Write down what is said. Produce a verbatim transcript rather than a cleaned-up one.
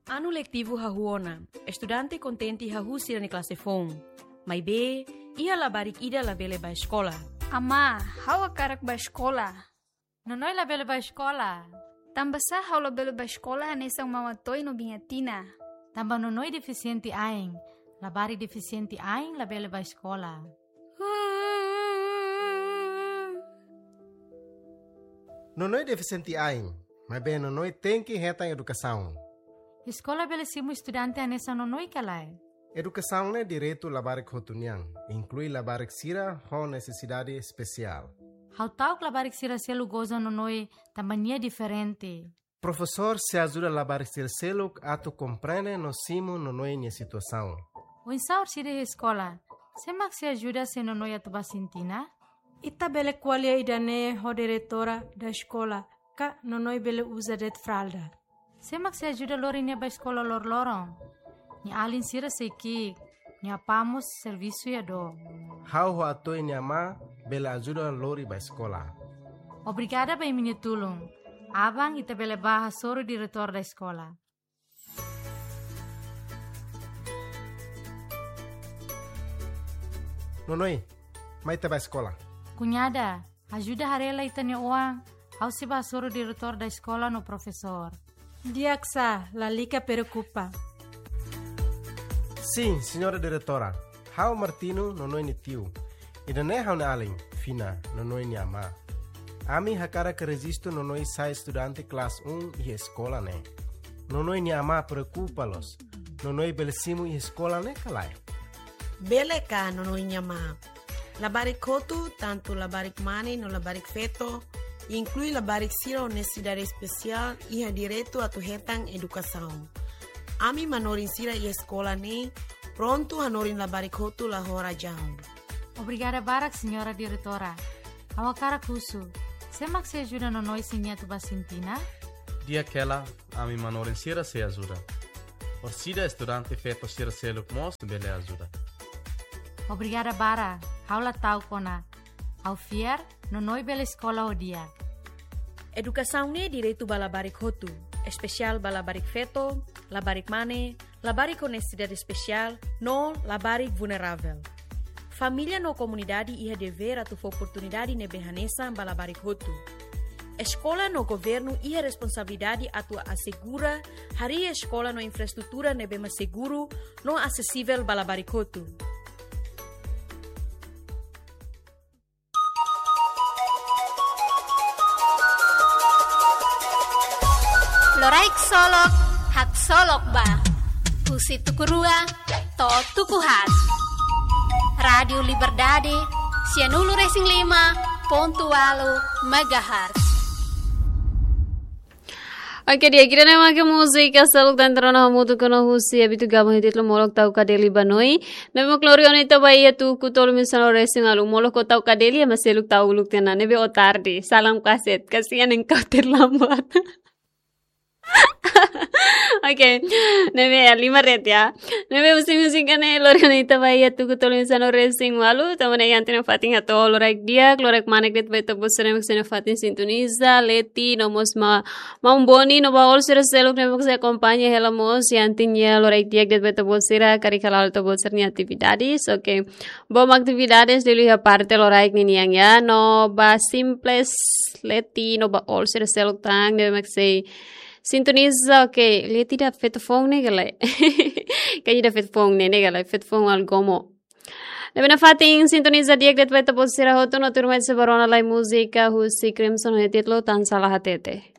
Anu letivu hahú ona, estudante kontente hahú sira-nia klase foun. Maibé, iha labarik ida labele bá eskola. Amá, ha'u hakarak bá eskola. Nonoi labele bá eskola. Tanbasá ha'u labele bá eskola hanesan Mama Toi no Biña Tina? Tanba Nonoi defisiente ain. Labarik defisiente ain labele bá eskola. Nonoi defisiente ain, maibé Nonoi tenke hetan edukasaun. Eskola bele simu estudante hanesan Nonoi ka lae? Edukasaun ne'e direitu labarik hotu nian, inklui labarik sira ho nesesidade espesiál. Ha'u ta'uk labarik sira seluk goza Nonoi tanba nia diferente. Profesór sei ajuda labarik sira seluk atu komprende no simu Nonoi nia situasaun. Oinsá orsida iha eskola? Sé mak sei ajuda se Nonoi atu bá sintina? Ita bele ko'alia ida-ne'e ho diretora da eskola, ka Nonoi bele uza de'it fralda. Sé mak sei ajuda lori nia bá eskola loroloron? Nia alin sira sei ki'ik, nia apá mós servisu iha dook. Ha'u ho Atoi nia amá bele ajuda lori bá eskola. Obrigada ba imi-nia tulun. Aban ita bele bá hasoru diretór da eskola. Nonoi, mai ita bá eskola. Kuñada, ajuda haree lai ita-nia oan, ha'u sei bá hasoru diretór da eskola no profesór. Di'ak sá, lalika preokupa. Sin, señora diretora. Ha'u Martino, Nonoi nia tiu. Ida-ne'e ha'u-nia alin, Fina, Nonoi nia amá. Ami hakarak rejistu Nonoi sai estudante klase un iha eskola ne'e. Nonoi nia amá preokupa loos. Nonoi bele simu iha eskola ne'e ka lae? Bele ka, Nonoi nia amá. Labarik hotu, tantu labarik mane no labarik feto, inklui labarik sira ho nesesidade espesiál, iha direitu atu hetan edukasaun. Ami manorin sira iha eskola ne'e prontu hanorin labarik hotu la ho razaun. Obrigada barak, señora diretora. Ha'u hakarak husu, sé mak sei ajuda Nonoi se nia atu bá sintina? Di'ak hela, ami manorin sira sei ajuda. Orsida estudante feto sira seluk mós bele ajuda. Obrigada barak, ha'u la ta'uk ona. Ha'u fiar, Nonoi bele eskola ho di'ak. Edukasaun ne'e direitu ba labarik hotu, espesiál ba labarik feto, labarik mane, labarik ho nesesidade espesiál, no labarik vulneravel. Família no komunidade iha devér atu fó oportunidade ne'ebé hanesan ba labarik hotu. Eskola no governu iha responsabilidade atu asegura harii eskola no infraestrutura ne'ebé mak seguru no asesivel ba labarik hotu. Loraik solok, haksolok ba. Husi tuku rua to'o tuku haat. Rádiu Liberdade, sianulu resin lima pontu ualu megahertz. Oke, di'ak, ida-ne'e mak múzika seluk tan terona hamutuk ona husi habitu gabon iha títulu Molok Tau Kadeli ba Noi. Ne'ebé mak lori ona ita ba iha tuku tolu mil sanulu resin ualu. Molok, ó tau kadeli, ema seluk tau uluk tiha ona. Ne'ebé ó tarde. Salam kaset. Kasihan engkau terlambat. Oke. Ne'ebé ya, lima ret ya. Ne'ebé husi múzika ne'e lori ona ita ba iha tuku tolu mil sanulu resin ualu. Tanba ne'e iha ita-nia fatin hato'o loraik di'ak, loraik manek de'it ba ita-boot sira ne'ebé mak sira-nia fatin sintoniza, Leti, no mós ma-, Maun Boni, no ba all sira seluk ne'ebé mak sei akompaña hela mós, iha ita-nia loraik di'ak de'it ba ita-boot sira, karik hala'o ita-boot sira-nia atividades, oke. Bom atividades liuliu iha parte loraik ninian ya, no ba Simples, Leti, no ba all sira seluk tan, ne'ebé mak sei sintoniza, oke, Leti ida feto foun ne'e ka lae. Kayaknya ida feto foun ne'e, ne'e ka lae, feto foun algomo. Ne'ebé nafatin sintoniza di'ak de'it ba ita-boot sira hotu no tuirmai sei bá rona lai múzika husi Crimson ho títulu Tan Sala Hatete.